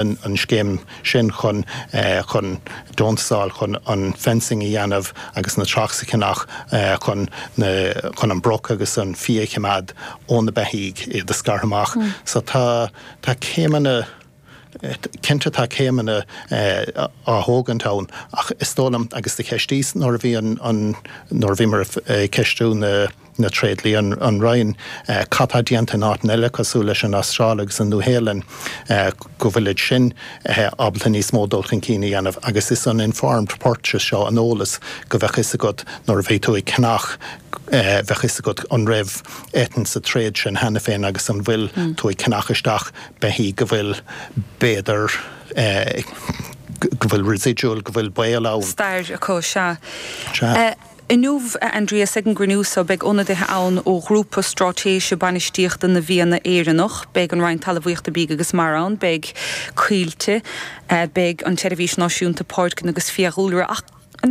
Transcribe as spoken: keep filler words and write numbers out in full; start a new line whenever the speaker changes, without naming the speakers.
An scéim sin chun chun deontas a fháil chun an fencing a dhéanamh agus na tracks a cheannach chun na chun an broc agus an fia a choimeád ó na beithígh, iad a scartha amach. So tá tá céimeanna, cinnte tá céimeanna á thógaint ann ach is dóigh liom, agus do cheistíos nuair a bhí an an nuair a bhíomar ag ceistiú na na tréidliaí, an Roinn, cad tá déanta in áiteanna eile cosúil leis an Astráil agus an Nua-Shéalainn, go bhfuilid sin ábalta níos mó dul chun cinn a dhéanamh agus is an informed purchase seo, an eolas go bheadh fhios agat nuair a bhí tú ag ceannach, bheadh fhios agat an raibh eitinn sa tréad sin cheana féin agus an bhfuil tú ag ceannach isteach beithígh go bhfuil b'fhéidir go bhfuil residual, go bhfuil baol ann.
Stair acu, sea. Sea. Inniu, a Aindrias, ag an gcruinniú so, beidh ionadaithe ann ó Ghrúpa Straitéise Bainistíochta na bhFianna Éireannach, beidh an Roinn Talmhaíochta, Bídh agus Mara ann, beidh Coillte, beidh an tSeirbhís Náisiúnta Páirceanna agus Fiadhúlra, ach